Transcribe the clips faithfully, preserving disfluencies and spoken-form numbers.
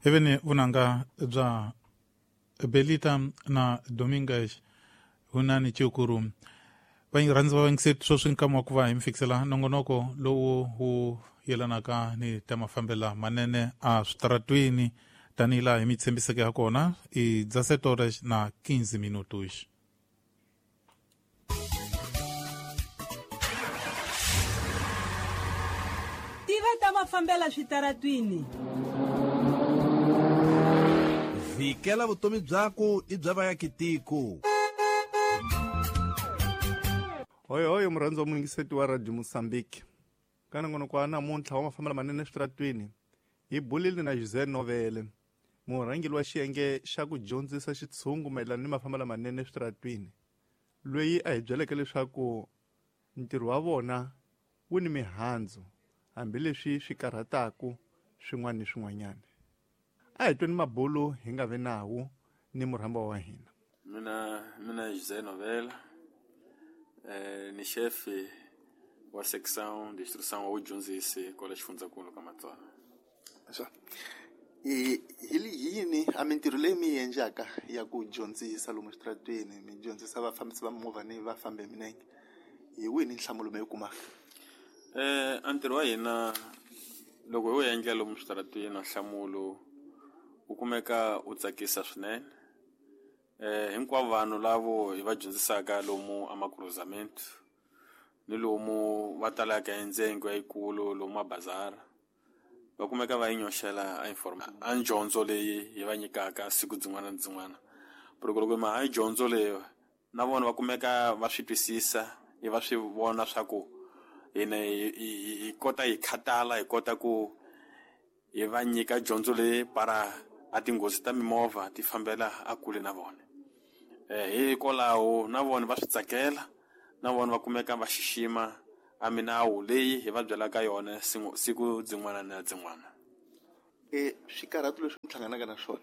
Heveni vunanga bya Belita na Dominguez hunani chikuru va rhandzi va vayingiseri sweswi nkama wa ku va hi mi fikisela nongonoko lowu wu yelanaka ni ta mafambela manene a switaratwini tanihi laha hi mi tshembiseke ha kona i dezessete horas na quinze minutos. Tiva ta mafambela switaratwini. Vikela vutomi byaku i bya vayakitiko. Hoi hoi murhandzi wa muyingiseti wa Radio Mozambique. Ka nongonoko wa namuntlha wa mafambelo manene eswitaratwini hi bulile na José Novele, murhangeri wa xiyenge xa ku dyondzisa xitshungu mayelana ni mafambelo manene eswitaratwini, loyi a hi byeleke leswaku ntirho wa vona wu ni mihandzu hambileswi swi karhataka swin'wana ni swin'wanyana. A hi tweni mabulu hi nga vi nawu ni murhamba wa hina. Mina mina José Novele, eh, ni chefe wa seção de instrução wa dyondzisi kwala xifundzankulu ka Matswana. Swa. I hi yini a mintirho leyi mi yi endlaka ya ku dyondzisa lomu switaratwini, mi dyondzisa vafambisi va mimovha ni vafambi hi milenge, hi wihi ni nhlamulo mi yi kumaka? Eh, a ntirho wa hina loko hi wu endla lomu switaratwini, nhlamulo wu kumeka wu tsakisa swinene. Eh, hinkwavo vanhu lavo hi va dyondzisaka lomu a makruzamento ni lomu va talaka endzengo yikulu lomu mabazara va kumeka va yi nyoxela a informa a dyondzo leyi hi va nyikaka siku dzin'wana na dzin'wana. Loko loko ma ha dyondzo leyi na vona va kumeka va swi twisisa, i va swi vona swa ku hina hi kota hi khatala, hi kota ku hi va nyika dyondzo leyi para a tinghozi ta mimovha ti fambela a kule na vona. Eh, hikwalaho na vona va swi tsakela, na vona va kumeka va xixima a minawu leyi hi va byelaka yona siku dzin'wana na dzin'wana. E swikarhato leswi mi hlanganaka na swona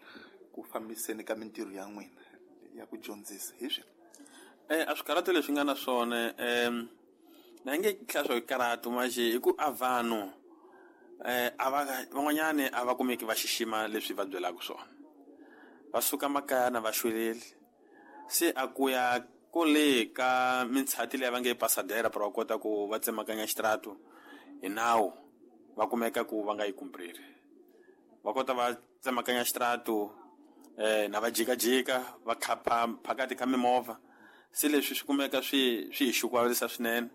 ku fambiseni ka mintirho ya n'wina ya ku dyondzisa hi swini? Eh, a swikarhato leswi nga na swona em na nge tlhela swo karhatu manje hi ku a vanhu eh a va van'wanyani a va kumeki va xixima leswi va byelaka swona, va suka makaya na va xweleli, se a ku ya kule ka mintshati leyi va nge pasadera para va kota ku va tsemakanya xitaratu hi nawu, va kumeka ku va nga yi kumpriri, va kota va tsemakanya xitaratu eh na va jikajika va khapa phakati ka mimovha. Se leswi swi kumeka swi swi hi xukuvalisa swinene,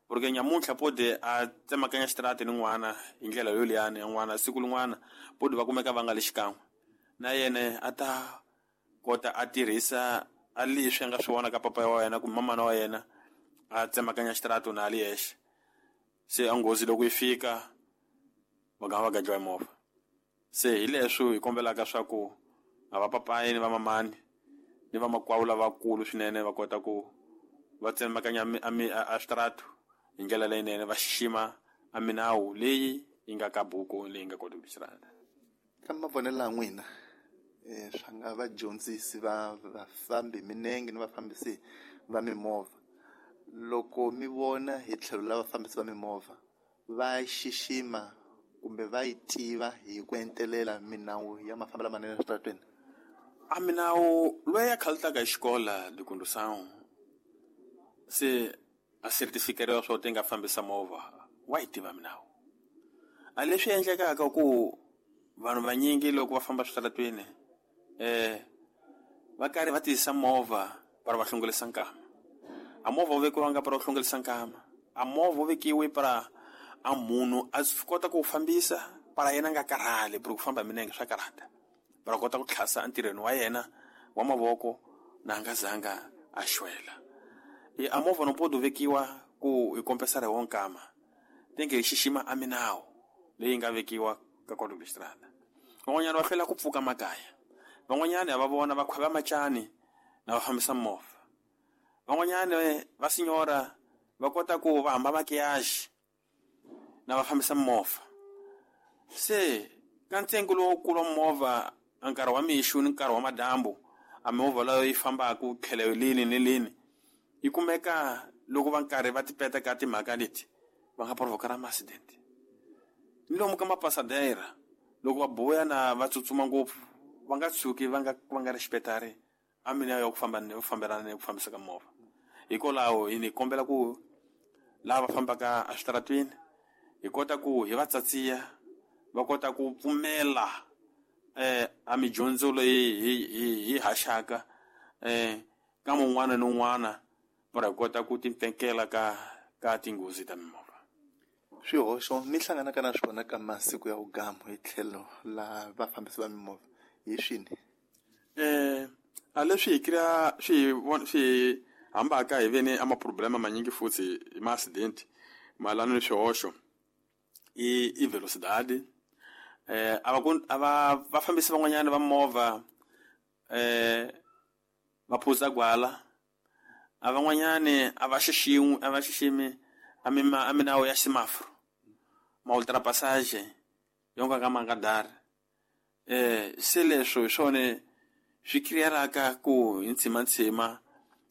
porque nyamuntlha pode a tsemakanya xitaratu ni n'wana hi ndlela yoliyani ya n'wana, siku lin'wana pode va kumeka va nga le xikan'we na yena a ta kota a tirhisa a leswi a nga swi vona ka papa wa yena kumbe mamana wa yena a tsemakanya xitaratu na a li yexe. Se a nghozi loko yi fika va nga va gadliwa hi movha. Se hi leswi hi kombelaka swa ku a va papayi ni va mamani ni va makwavo lavakulu swinene va kota ku va tsemakanya a xitaratu hi ndlela leyinene, va xixima a minawu leyi yi nga ka buku leyi nga kota ku xirata. Ka mavonelo ya n'wina, eh swa nga vadyondzisi va vafambi milenge ni vafambisi va mimovha, loko mi vona hi tlhelo la vafambisi va mimovha va xixima kumbe va yi tiva hi ku entelela minawu ya mafambelo manene eswitaratwini? A minawu loyi a khalutaka hi xikola de condução se a certificate swo ti nga fambisa movha wa yi tiva minawu. A leswi endlekaka ku vanhu vanyingi loko va famba switaratwini eh va karhi va tiyisa movha para va hlongolisa nkama. A movha wu vekiwanga para wu hlongolisa nkama, a movha wu vekiwe para a munhu a swi kota ku fambisa para yena a nga karhali, ku famba hi milenge swa karhata, para kota ku tlhasa entirhweni wa yena wa mavoko na a nga zanga a xwela. E a movha no pode vekiwa ku hi kompensara hi wo nkama, tenge hi xixima a minawu leyi nga vekiwa ka código de estrada. Van'wanyana va hlwela ku pfuka makaya, van'wanyana va vona va khweva macani na va fambisa movha, van'wanyana va sinyora va kota ku va hamba makiyaji na va fambisa movha. Se ka ntsengo lowukulu wa movha a nkarhi wa mixo ni nkarhi wa madyambu, a mimovha leyo yi fambaka tlhelo lini ni lini yi kumeka loko va nkarhi va tipeta ka timhaka leti va nga provoka ma accident. Ni lomu ka mapasadera Loko va boya na va tsutsuma ngopfu va nga tshuki va nga va nga respectari a mina ya ku famba ni fambelana ni ku fambisa ka movha. Hikwalaho hi ni kombela ku lava fambaka eswitaratwini hi kota ku hi va tsatsiya va kota ku pfumela eh a midyondzo leyi hi hi hi haxaka eh ka mun'wana ni un'wana va kota ku timpfekela ka ka tinghozi ta mimovha. Swihoxo mi hlanganaka na swona ka masiku ya vugamu hi tlhelo la vafambisi va mimovha hi swini? Eh a leswi hi kria swi swi hambaka hi vene ama problema manyingi futhi hi ma accident malano ni swihoxo i i velocidade. Eh ava ava vafambisi van'wanyana va movha eh va phuza gwala, a van'wanyani a va xiximi a va xiximi a mina a minawo ya semaforo ma ultrapassage yonka ka mangadari. Eh se leswo hi swona swi creeraka ku hi ntshima ntshima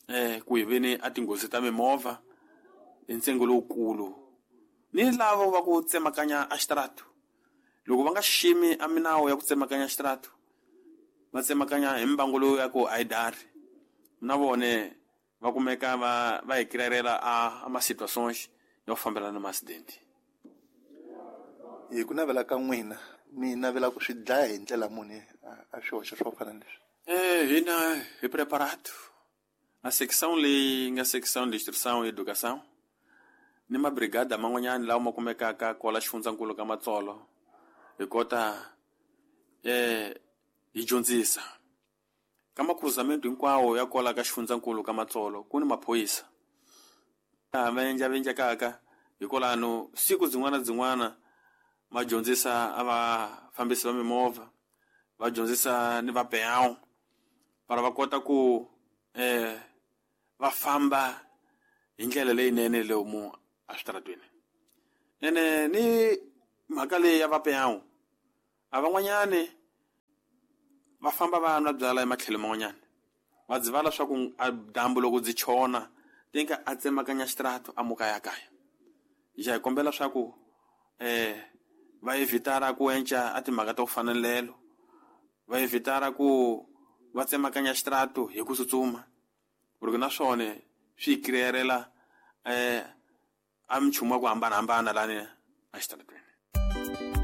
eh ku hi veni a tinghozi ta mimovha hi ntsengo lowukulu. Ni lavo va ku tsemakanya a xitaratu loko va nga xiximi a minawo ya ku tsemakanya xitaratu va tsemakanya hi mbangu lowu ya ku a yi dari na vone va kumeka va va hi creerela a a ma situations yo fambelana na accident. Hi ku navela ka n'wina mi navela ku swi dlaya hi ndlela muni a swihoxo swo fana leswi? Eh hina hi preparado a section leyi nga section de instrução e educação ni mabrigada man'wanyana lawa ma kumekaka kwala xifundzankulu ka Matsolo hi kota eh hi dyondzisa ka makhuzamento hinkwawo ya kwala ka xifundzankulu ka Matsolo ku ni maphorisa va endla va endlekaka hikwalano siku byin'wana byin'wana va dyondzisa a vafambisi va mimovha va dyondzisa ni vapeyawu para va kota ku eh va famba hi ndlela leyinene lomu eswitaratweni. Ene ni mhaka leyi ya vapeyawu a van'wanyani va famba va nwa byala ematlhelo man'wanyana va dzivala swa ku a dyambu loko byi chona tinka a tsemakanya xitaratu a muka ya kaya. Hi hi kombela swa ku eh va evitara ku enca a timhaka ta ku fana na lelo, va evitara ku va tsemakanya xitaratu hi ku tsutsuma porque na swona swi creerela eh a minchumu ya ku hambanahambana lani a xitaratweni.